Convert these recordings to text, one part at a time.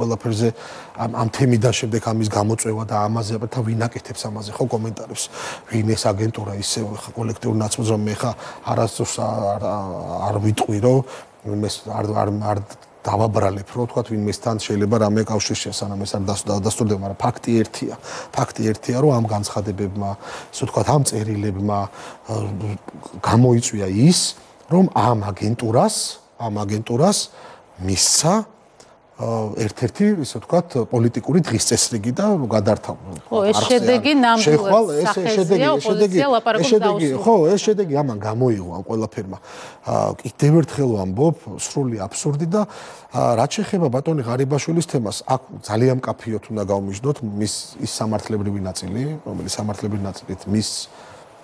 ყველაფერზე ამ თემიდან შემდეგ ამის გამოწვევა და ამაზე აბა ვინ აკეთებს ამაზე ხო კომენტარებს ვინ ეს აგენტურა ისე ხა კოლექტიურ ნაცვლად რომ მე ხა არასდროს არ ვიტყვი რომ ვინმეს არ დავაბრალებ რომ თქვა ვინმესთან შეიძლება რამე კავშირშია სანამ ეს არ დასტურდება მაგრამ ფაქტი ერთია რომ ამ განცხადებებმა ისე თქვა ამ წერილებმა გამოიწვია ის რომ ამ აგენტურას მისცა ერთ-ერთი ისე ვთქვათ პოლიტიკური დღის წესრიგი და გადართავა. ხო, ეს შედეგი ნამდვილად სახეზეა ოპოზიცია ლაპარაკობს დაუსრულებლად. ხო, ეს შედეგი ამან გამოიღო ამ ყველაფერმა. კიდევ ერთხელ ვამბობ, სრული აბსურდი და რაც შეეხება ბატონი ღარიბაშვილის თემას, აქ ძალიან მკაფიოდ უნდა გავმიჯდოთ მის ის სამართლებრივი ნაწილი, რომელიც სამართლებრივი ნაწილით მის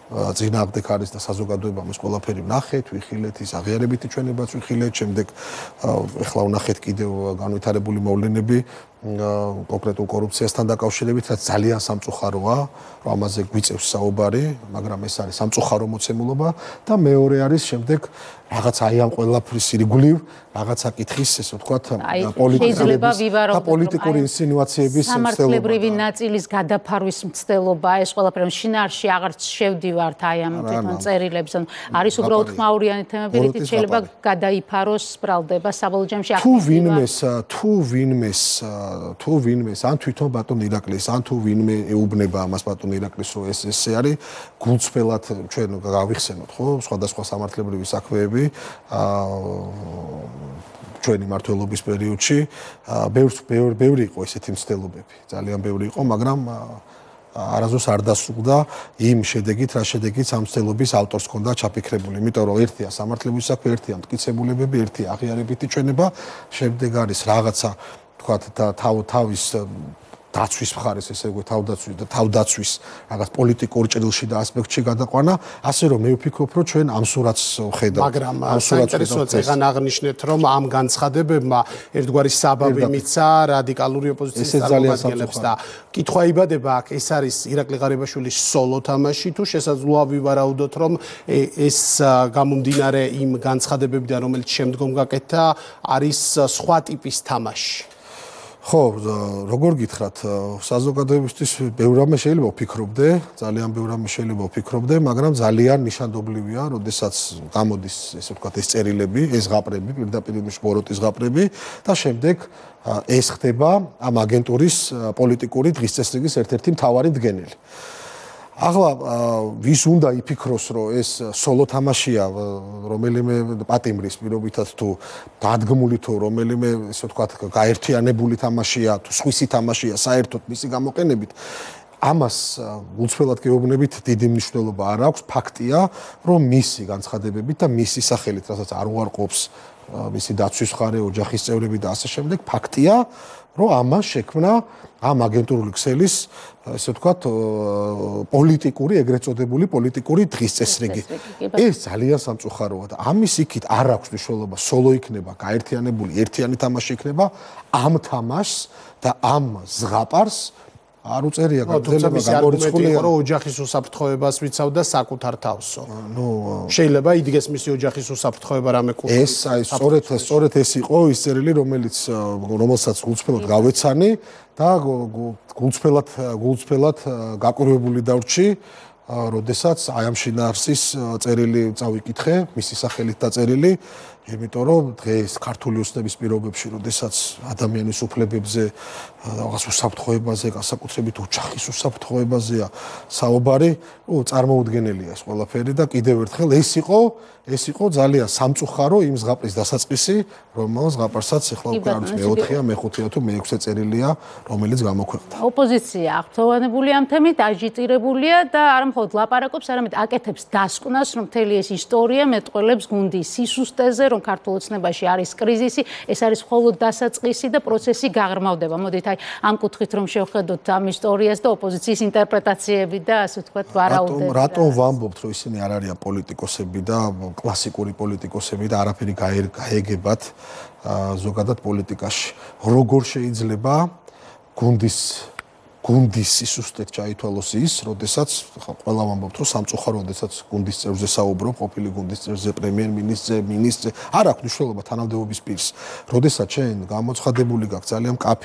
წინააღმდეგ არის და საზოგადოებამ ეს ყველაფერი ვნახეთ, ვიხილეთ, ის აღიარებითი ჩვენებაც ვიხილეთ, შემდეგ ეხლა ვნახეთ კიდევ განვითარებული მოვლენები კონკრეტულ კორუფციასთან დაკავშირებით, რაც ძალიან სამწუხაროა, რომ ამაზე გვიწევს საუბარი, მაგრამ ეს არის სამწუხარო მოცემულობა და მეორე არის შემდეგ რაღაც აი ამ ყველაფრის ირგვლივ რაღაცა კითხის, ესე ვთქვათ, პოლიტიკური ინსინუაციების სამართლებრივი ნაწილის გადაფარვის მცდელობა, ეს ყველაფერი შინაარსში აღარ შევდივართ აი ამ თვითონ წერილებს, ანუ არის უბრალოდ ხმაურიანი თემები, რითიც შეიძლება გადაიფაროს, ბრალდება საბოლოო ჯამში თუ ვინმეს ან თვითონ ბატონ ირაკლის ან თუ ვინმე ეუბნება ამას ბატონ ირაკლის რომ ესე არის გულწრფელად ჩვენ გავიხსენოთ ხო სხვადასხვა სამართლებრივი საქმეები ჩვენი მმართველობის პერიოდში ბევრი იყო ესეთი მცდელობები ძალიან ბევრი იყო მაგრამ არასდროს არ დასრულდა იმ შედეგით რა შედეგით ამ მცდელობის ავტორს ჰქონდა ჩაფიქრებული იმიტომ რომ ერთია სამართლებრივი საქმე ერთია მტკიცებულებები ერთია აღიარებითი ჩვენება შემდეგ არის რაღაცა თქვათ და თავის დაცვის მხარეს ესე ვთქვი თავდაცვის რაღაც პოლიტიკურ ჭრილში და ასპექტში გადაყვანა ასე რომ მე ვფიქრობ რომ ჩვენ ამ სურათს ხედავთ მაგრამ საინტერესოა წეგან აღნიშნეთ რომ ამ განცხადებებმა ერთგვარი საბაბი მიცა რადიკალური ოპოზიციის წარმომადგენლებს და კითხვა იბადება აქ ეს არის ირაკლი ღარიბაშვილის სოლო თამაში თუ შესაძლოა ვივარაუდოთ რომ ეს გამომდინარე იმ განცხადებებიდან რომელიც შემდგომ გაკეთდა არის სხვა ტიპის თამაში ხო, როგორ გითხრათ, საზოგადოებისთვის ბევრ რამე შეიძლება ვფიქრობდე, ძალიან ბევრ რამე შეიძლება ვფიქრობდე, მაგრამ ძალიან ნიშანდობლივია, როდესაც გამოდის, ესე ვთქვათ, ეს წერილები, ეს ზღაპრები, პირდაპირ ბოროტის ზღაპრები და შემდეგ ეს ხდება ამ აგენტურის პოლიტიკური დღის წესრიგის ერთ-ერთი მთავარი მდგენელი. ახლა ვის უნდა იფიქროს რომ ეს სოლო თამაშია რომელიმე პატიმრის პირობითაც თუ დადგმული თუ რომელიმე ესე ვთქვათ გაერთიანებული თამაშია თუ სხვისი თამაშია საერთოდ მისი გამოყენებით ამას გულწრფელად გეუბნებით დიდი მნიშვნელობა არ აქვს ფაქტია რომ მისი განცხადებებით და მისი სახელით რასაც არ უარყოფს მისი დაცვის მხარე ოჯახის წევრები და ასე შემდეგ ფაქტია რომ ამას შექმნა ამ აგენტურული ქსელის ესე ვთქვათ პოლიტიკური ეგრეთ წოდებული პოლიტიკური დღის წესრიგი ეს ძალიან სამწუხაროა და ამის იქით არ აქვს მნიშვნელობა სოლო იქნება გაერთიანებული ერთიანი თამაში იქნება ამ თამაშს და ამ ზღაპარს არ უწერია გაგრძელება გამორიცხულია რომ ოჯახის უსაფრთხოებას ვიცავდა საკუთარ თავსო. შეიძლება იდგეს მისი ოჯახის უსაფრთხოება რამე კულტურით. ეს აი სწორედ ეს იყო ის წერილი რომელსაც გულწრფელად გავეცანი და გულწრფელად გაკვირვებული დავრჩი როდესაც აი ამ შინაარსის წერილი წავიკითხე მისი სახელით დაწერილი იმიტომ რომ დღეს ქართული ოცნების პირობებში როდესაც ადამიანის უფლებებზე რაღაც უსაფრთხოებაზე განსაკუთრებით ოჯახის უსაფრთხოებაზეა საუბარი წარმოუდგენელია ეს ყველაფერი და კიდევ ერთხელ ეს იყო ძალიან სამწუხარო იმ ზღაპრის დასაწყისი რომელს ზღაპარსაც ახლა უკვე არის მე-4-ია მე-5-ია თუ მე-6 წერილია რომელიც გამოქვეყნდა ოპოზიცია აღფრთოვანებული ამ თემით აჟიტირებულია და არ მხოლოდ ლაპარაკობს არამედ აკეთებს დასკვნას რომ მთელი ეს ისტორია მეტყველებს გუნდის სისუსტეზე რომ ქართულ ოცნებაში არის კრიზისი ეს არის მხოლოდ დასაწყისი და პროცესი გაღრმავდება მოდით აი ამ კუთხით რომ შევხედოთ ამ ისტორიას და ოპოზიციის ინტერპრეტაციები და ასე ვთქვათ ვარაუდები რატომ ვამბობთ რომ ისინი არ არიან პოლიტიკოსები და კლასიკური პოლიტიკოსები და არაფერი გაეგებათ ზოგადად პოლიტიკაში როგორ შეიძლება გუნდის გუნდის სისუსტეთ ჩაითვალოს ის, როდესაც ყველა ვამბობთ, რომ სამწუხარო, როდესაც გუნდის წევრზე საუბრობ, ყოფილი გუნდის წევრზე, პრემიერ-მინისტრზე, არ აქვს მნიშვნელობა თანამდებობის პირს. როდესაც შენ გამოცხადებული გაქვს ძალიან მკაფიო